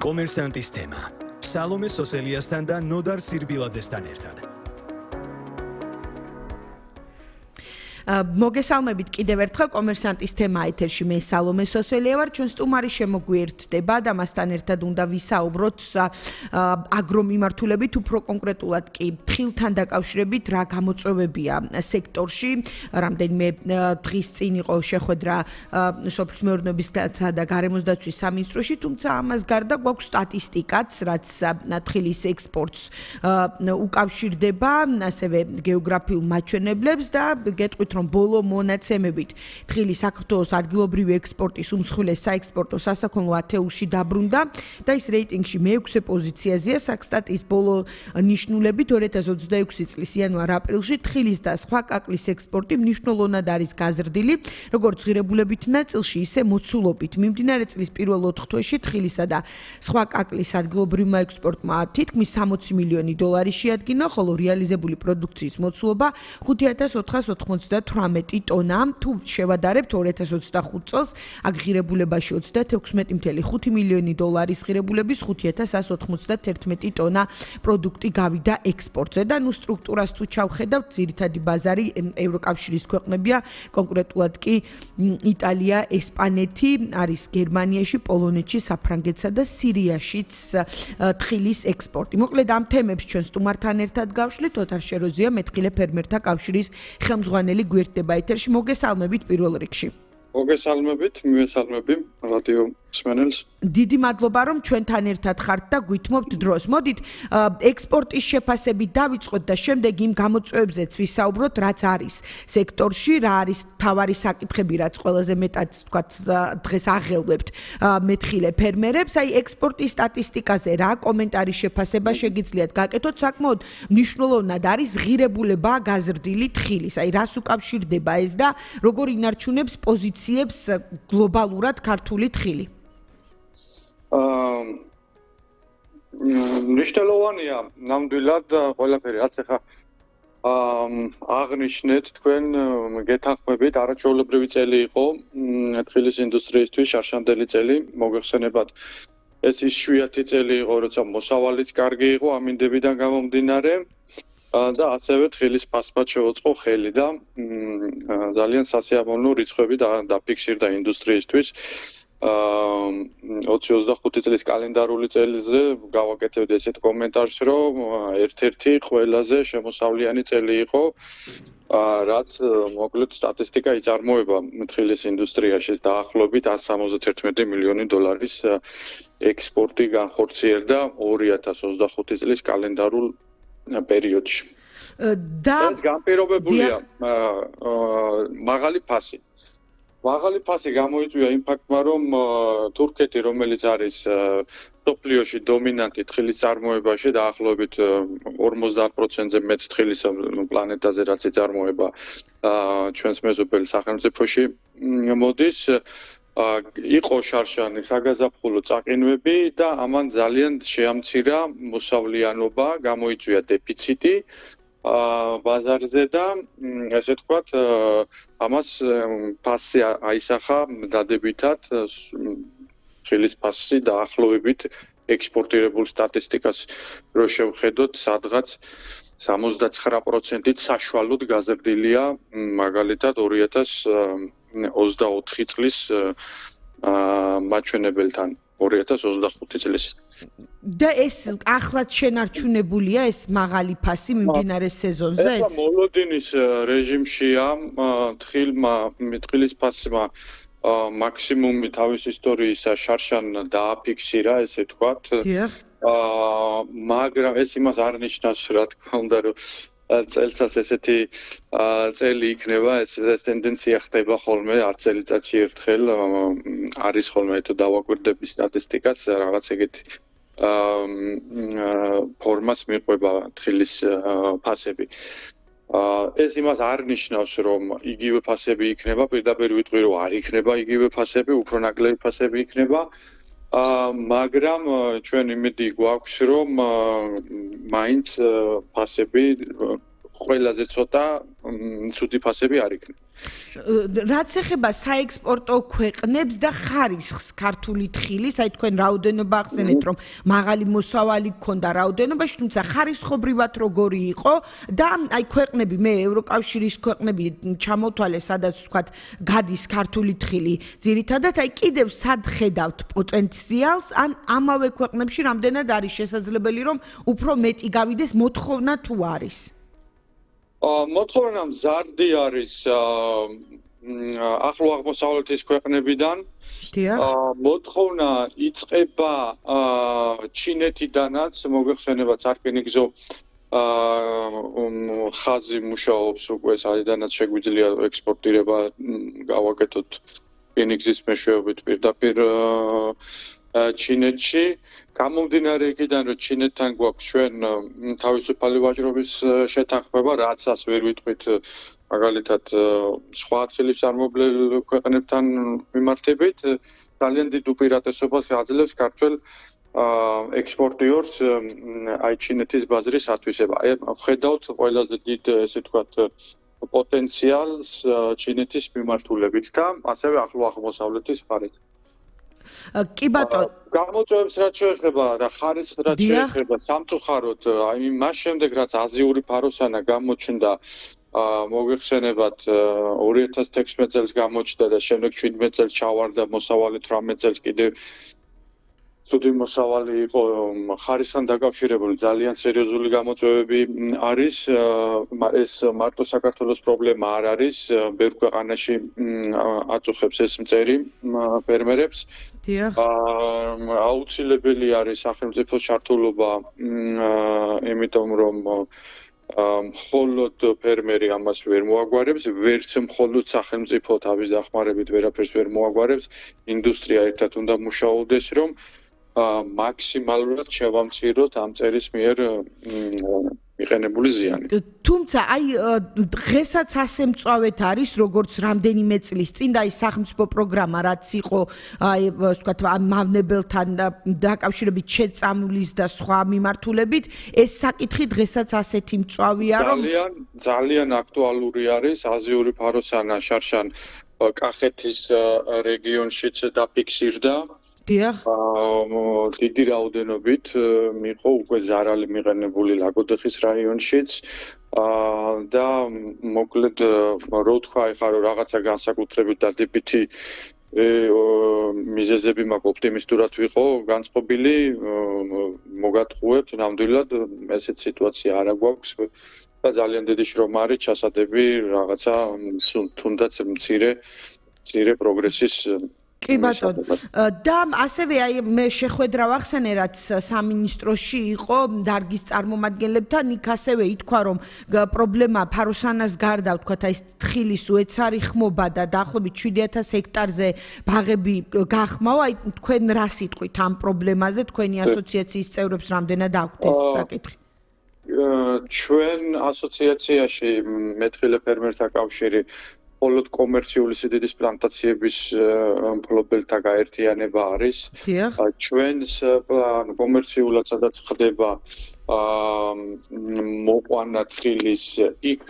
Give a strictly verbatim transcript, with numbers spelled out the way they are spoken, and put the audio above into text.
კომერსანტის თემა. სალომე სოსელიასთან და ნოდარ სირბილაძესთან ერთად. მოგესალმებით კიდევ ერთხელ კომერსანტის თემა ეთერში მე სალომე სოსელია ვარ ჩვენ სტუმარი შემოგვიერთდება და მასთან ერთად უნდა ვისაუბროთ აგრომიმართულებით უფრო კონკრეტულად კი თხილთან დაკავშირებით რა გამოწვევებია სექტორში რამდენიმე დღის წინ იყო შეხვედრა სოფლის მეურნეობისა და გარემოს დაცვის სამინისტროში თუმცა ამას გარდა გვაქვს სტატისტიკაც რაც თხილის ექსპორტს უკავშირდება ასევე გეოგრაფიულ მაჩვენებლებს და გეტყვით რომ ბოლო მონაცემებით თხილი საქართველოს ადგილობრივი ექსპორტის უმსხვილეს საექსპორტო სასაქონლო ათეულში დაბრუნდა და ის რეიტინგში მეექვსე პოზიციაზეა საქსტატის ბოლო ნიშნულებით ორი ათას ოცდაექვსი წლის იანვარ-აპრილში თხილის და სხვა კაკლის ექსპორტი მნიშვნელოვნად არის გაზრდილი როგორც ღირებულებით ნაწილში ისე მოცულობით მიმდინარე წლის პირველ ოთხ თვეში თხილისა და სხვა კაკლის ადგილობრივმა ექსპორტმა თითქმის სამოცი მილიონი დოლარი შეადგინა ხოლო რეალიზებული პროდუქციის მოცულობა ხუთი ათას ოთხას ოცდათვრამეტი ტონა თუ შევადარებთ ორი ათას ოცდახუთ წელს აქ ღირებულებაში ოცდათექვსმეტი წუთი ხუთი მილიონი დოლარის ღირებულების ხუთი ათას εκατო ოცდათერთმეტი ტონა პროდუქტი გავიდა ექსპორტზე და ნუ სტრუქტურას თუ ჩავხედავთ ძირითადი ბაზარი ევროკავშირის ქვეყნებია კონკრეტულად კი იტალია, ესპანეთი არის გერმანიაში, პოლონეთში, საფრანგეთსა და სირიაშიც თხილის ექსპორტი. მოკლედ ამ თემებს ჩვენ სტუმართან ერთად გავშლით ოთარ შეროზია მეთხილე ფერმერთა კავშირის ხელმძღვანელი გვერდება ეთერში მოგესალმებით პირველ რიგში. მოგესალმებით, მივესალმები რადიო მსმენელს. დიდი მადლობა რომ ჩვენთან ერთად ხართ და გვითმობთ დროს. მოდით ექსპორტის შეფასებით დავიწყოთ და შემდეგ იმ გამოწვევებზეც ვისაუბროთ, რაც არის სექტორში, რა არის მთავარი საკითხები, რაც ყველაზე მეტად თქვათ დღეს აღელვებთ მეთხილე ფერმერებს. აი ექსპორტის სტატისტიკაზე რა კომენტარი შეფასება შეგიძლიათ გაკეთოთ? საკმაოდ მნიშვნელოვნად არის ღირებულება გაზრდილი თხილის. აი რას უკავშირდება ეს და როგორ ინარჩუნებს პოზიციებს გლობალურად ქართული თხილი? მნიშვნელოვანია ნამდვილად ყველაფერი რაც ახლა აღნიშნეთ თქვენ გეთანხმებით არაჩვეულებრივი წელი იყო თხილის ინდუსტრიისთვის შარშანდელი წელი მოგეხსენებათ ეს ის შვიათი წელი იყო როცა მოსავალიც კარგი იყო ამინდებიდან გამომდინარე და ასევე თხილის ფასმაც შეუწყო ხელი და ძალიან სასიამოვნო რიცხვები დაფიქსირდა ინდუსტრიისთვის ოცი ოცდახუთი წლის კალენდარული წელზე გავაკეთებდი ესეთ კომენტარს რომ ერთ-ერთი ყველაზე შემოსავლიანი წელი იყო რაც მოკლედ სტატისტიკა იწარმოება თხილის ინდუსტრიაში დაახლოებით εκατს სამოცდათერთმეტი მილიონი დოლარის ექსპორტი განხორციელდა ორი ათას ოცდახუთი წლის კალენდარულ პერიოდში და ეს განპირობებულია მაღალი ფასი მაღალი ფასი გამოიწვია იმ ფაქტმა, რომ თურქეთი, რომელიც არის მსოფლიოში დომინანტი თხილის წარმოებაში, დაახლოებით ორმოცდაათ პროცენტზე მეტ თხილის პლანეტაზე რაც იწარმოება ჩვენს მეზობელ სახელმწიფოში მოდის, იყო შარშანი საგაზაფხულო წაყინვები და ამან ძალიან შეამცირა მოსავლიანობა, გამოიწვია დეფიციტი ბაზარზე და ესე ვთქვათ ამას ფასი აისახა დადებითად თხილის ფასი დაახლოებით ექსპორტირებულ სტატისტიკას რო შევხედოთ სადღაც სამოცდაცხრა პროცენტით საშუალოდ გაზრდილია მაგალითად ორი ათას ოცდაოთხი წლის მაჩვენებელთან ორი ათას ოცდახუთი წლის და ეს ახლად შენარჩუნებულია ეს მაღალი ფასი მიმდინარე სეზონზე? ეს მოლოდინის რეჟიმშია თხილმა თხილის ფასმა მაქსიმუმი თავის ისტორიისა შარშან დააფიქსირა ესე ვთქვათ მაგრამ ეს იმას არ ნიშნავს რა თქმა უნდა რომ წელსაც ესეთი წელი იქნება ეს ტენდენცია ხდება ხოლმე არც წელიწადში ერთხელ არის ხოლმე თუ დავაკვირდები სტატისტიკას რაღაც ეგეთი ფორმას მიყვება თხილის ფასები ეს იმას არ ნიშნავს რომ იგივე ფასები იქნება პირდაპირ ვიტყვი რომ არ იქნება იგივე ფასები უფრო ნაკლები ფასები იქნება მაგრამ ჩვენ იმედი გვაქვს რომ მაინც ფასები ყველაზე ცოტა ცუდი ფასები არ იქნება. რაც ეხება საექსპორტო ქვეყნებს და ხარისხს ქართული თხილის, აი თქვენ რაოდენობა ახსენეთ, რომ მაღალი მოსავალი გქონდა რაოდენობაში, თუმცა ხარისხობრივად როგორი იყო და აი ქვეყნები, მე ევროკავშირის ქვეყნები ჩამოვთვალე, სადაც თქვათ გადის ქართული თხილი, ძირითადად აი კიდევ სად ხედავთ პოტენციალს, ან ამავე ქვეყნებში რამდენად არის შესაძლებელი, რომ უფრო მეტი გავიდეს მოთხოვნა თუ არის? მოთხოვნა მზარდი არის ახლო აღმოსავლეთის ქვეყნებიდან. მოთხოვნა იწყება ჩინეთიდანაც, მოგეხსენებათ სარკინიგზო ხაზი მუშაობს უკვე, საიდანაც შეგვიძლია ექსპორტირება გავაკეთოთ რკინიგზის მეშვეობით პირდაპირ ჩინეთში. გამომდინარე იქიდან, რომ ჩინეთთან გვაქვს ჩვენ თავისუფალი ვაჭრობის შეთანხმება, რაცაც ვერ ვიტყვით მაგალითად სხვა თხილის წარმომადგენელ ქვეყნებთან მიმართებით, ძალიან დიდ უპირატესობას აძლევს ქართველ ექსპორტიორს აი ჩინეთის ბაზრის ათვისება. აი ხედავთ ყველაზე დიდ ესე ვთქვათ პოტენციალს ჩინეთის მიმართულებით და ასევე ახლო აღმოსავლეთის მხარეთ. კი ბატონო, გამოწვევებს რაც შეეხება და ხარისხს რაც შეეხება სამწუხაროდ, აი მას შემდეგ რაც აზიური ფაროსანა გამოჩნდა, მოგეხსენებათ ორი ათას თექვსმეტ წელს გამოჩნდა და შემდეგ შვიდმეტ წელს ჩავარდა მოსავალი თვრამეტ წელს კიდევ ცუდი მოსავალი იყო ხარისხთან დაკავშირებული ძალიან სერიოზული გამოწვევები არის ეს მარტო საქართველოს პრობლემა არ არის ბევრ ქვეყანაში აწუხებს ეს მწერი ფერმერებს აუცილებელი არის სახელმწიფოს ჩართულობა იმიტომ რომ მხოლოდ ფერმერი ამას ვერ მოაგვარებს, ვერც მხოლოდ სახელმწიფო თავის დახმარებით ვერაფერს ვერ მოაგვარებს, ინდუსტრია ერთად უნდა მუშაობდეს, რომ მაქსიმალურად შევამციროთ ამ წერის მიერ მიყენებული ზიანი. თუმცა აი დღესაც ასე მწვავედ არის, როგორც რამდენიმე წლის წინ და აი სახელმწიფო პროგრამა რაც იყო აი ვთქვათ მავნებელთან დაკავშირებით შეწამვლის და სხვა მიმართულებით, ეს საკითხი დღესაც ასეთი მწვავეა, რომ ძალიან ძალიან აქტუალური არის აზიური ფაროსანა შარშან კახეთის რეგიონშიც დაფიქსირდა. დიახ. დიდი რაოდენობით მიყო უკვე ზარალი მიყენებული ლაგოდეხის რაიონშიც და მოკლედ რო თქვა ეხლა რომ რაღაცა განსაკუთრებით დადებითი მიზეზები მაქვს ოპტიმისტურად ვიყო განწყობილი მოგატყუებთ ნამდვილად ესეთ სიტუაცია არ გვაქვს და ძალიან დიდი შრომა არის ჩასადები რაღაცა თუნდაც მცირე მცირე პროგრესის კი ბატონო და ასევე აი მე შეხვედრა ვახსენე რაც სამინისტროში იყო დარგის წარმომადგენლებთან იქ ასევე ითქვა რომ პრობლემა ფაროსანას გარდა ვთქვათ აი თხილის უეცარი ხმობა და დაახლოებით შვიდი ათას ჰექტარზე ბაღები გახმაო აი თქვენ რა სიტყვით ამ პრობლემაზე თქვენი ასოციაციის წევრებს რამდენად აქვთ ეს საკითხი ჩვენ ასოციაციაში მეთხილე ფერმერთა კავშირი მხოლოდ კომერციული სიდიდის პლანტაციების მფლობელთა გაერთიანება არის. ჩვენს კომერციულად სადაც ხდება მოყვანა თხილის იქ